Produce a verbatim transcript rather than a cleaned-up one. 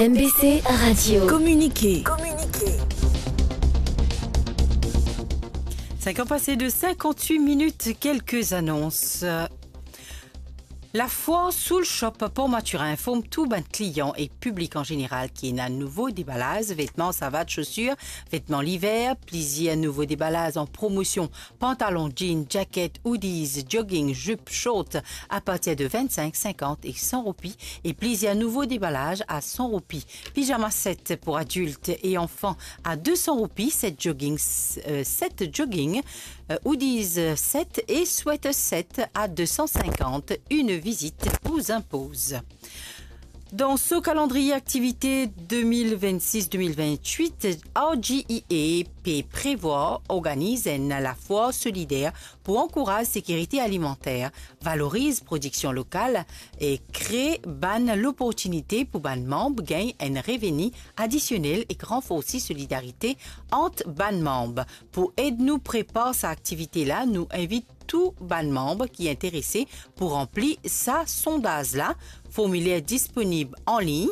M B C Radio. Communiqué. Communiqué. Cinq ans passés de cinquante-huit minutes, quelques annonces. Lafwar Soul Shop Port Mathurin inform tou bann klian e piblik an zeneral ki ena nouvo debalaz vetman, savat, sosir, vetman liver, plizier nouvo debalaz an promosion, pantalon, jean, jaket, hoodies, jogging, zip, short, apartir de vennsenk, sinkant e san roupi, e plizier nouvo debalaz a san roupi. Pijama set pou adilt e anfan a de san roupi, set jogging, eh, set jogging, eh, hoodies set e sweater set a de san sinkant. Une visite vous impose. Dan so kalandriye aktivite de mil vennsis de mil vennwit, R G E A pe prevwar organiz enn lafwar solider pou ankouraz sekirite alimanter, valoriz prodiksion lokal e kre bann loportinite pou bann manb gagn enn reveni adisionel ek ranforsi solidarite ant bann manb. Pou ed nou prepar sa aktivite la, nou invit tou bann manb ki interese pou ranpli sa sondaz la. Formiler disponib anlign